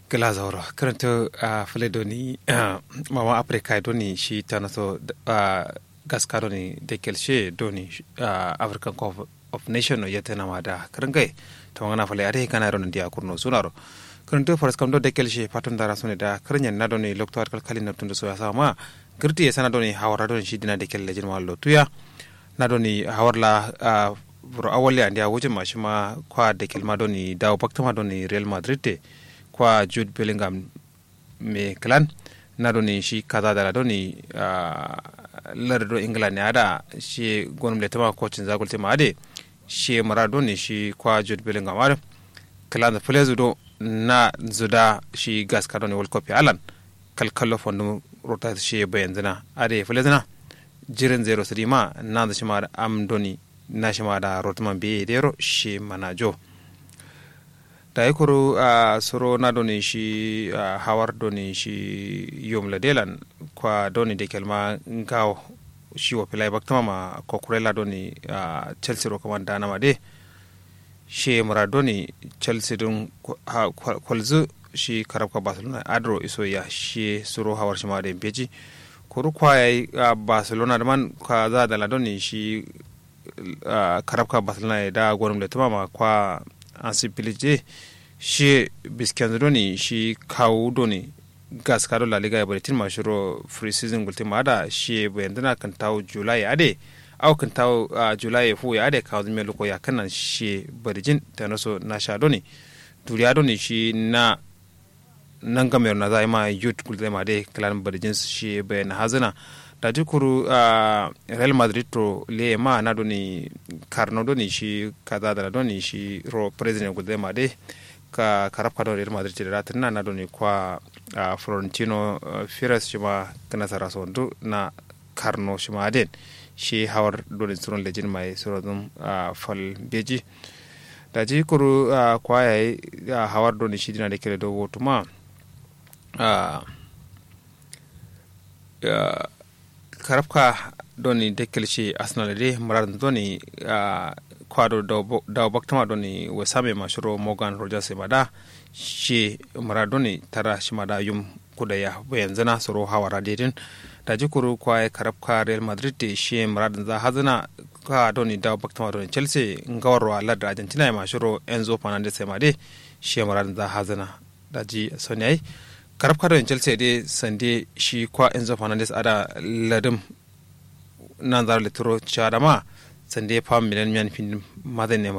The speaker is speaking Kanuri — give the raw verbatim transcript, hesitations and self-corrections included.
Gla zauro kǝrǝntǝ. Fǝle doni mama africa doni shi tanaso gaska doni dekel she doni african cup of nation no yetena ma da kǝrǝngai. Tawangana fǝle adai gana doni diya kurno sunaro kǝrǝntǝ faraskam do dekel she fatum dara sone da kǝrǝnyen na doni lokto adkal kalin nabtun da soya sama. Gǝrtǝ ye sana doni hawara doni shi dina dekel lejin ma lotuya. Na doni hawar la buro awal ya ndiya wujin ma shima kwa dekel ma doni dawo baktama doni real madrid te kwa jude bellingham me klan. Na doni shi kaza dala doni lar do england ne ada shi gonum le tama kocin zagul tema ade shi mara doni shi kwa jude bellingham ade klan flezu do na zuda shi gaska doni world cup ya alan kalkallo fondum rota shi bayan zina ade flezu na jirin zero sidi ma nanzu shima da am doni na shima da rotuma mbe dero shi mana jo. Dayi kuru suro na doni shi hawar doni shi yom ladelan kwa doni dekel ma ngawo shi wo filai baktuma ma kokurela doni chelsea ro kaman danama de. Shi mura doni chelsea dun kwalzu shi karabka barcelona adro iso ya shi suro hawar shima da mbeji. Kuru kwa yayi barcelona da man kwa za da ladoni shi karabka barcelona ya da gonum da tuma ma kwa ansibility de. Shi biskenzu doni shi kawu doni gaska do laliga ya baritin ma shiro free season gultin ma ada shi bayanduna kintawu july ade. Au kintawu july fu ya ade kawu zume luko ya kanan shi barijin tanaso na sha doni duriya doni shi na nangam yaro na zai ma yut gulzai ma dai kalan barijin shi bayan hazina. Daji kuru real madrid to le ma na doni karno doni shi kaza da doni shi ro president gulzai ma dai ka karabka doni real madrid da ratin na na doni kwa florentino firas shi ma kana sara sondu na karno shima aden. Shi hawar doni suron lejin mai suron zun fal beji. Daji kuru kwa yayi hawar doni shi dina da kere do wotuma karabka doni da kere shi arsenal de muradun doni kwa do dawo baktama doni wasame ma shiro morgan rogers ma da shi mura doni tara shima da yum kuda ya bayan zana soro hawara dedin. Daji kuru kwa ya karabka real madrid de shi muradun za hazana ka doni dawo baktama doni chelsea ngawarwa ladda argentina ya ma shiro enzo fernandez ya ma de shi muradun za hazana. Daji soni ai karabka doni chelsea de sande shi kwa enzo fernandez ada ladum nan zaro lituro chadama sande fam milan miyan fin mazan ne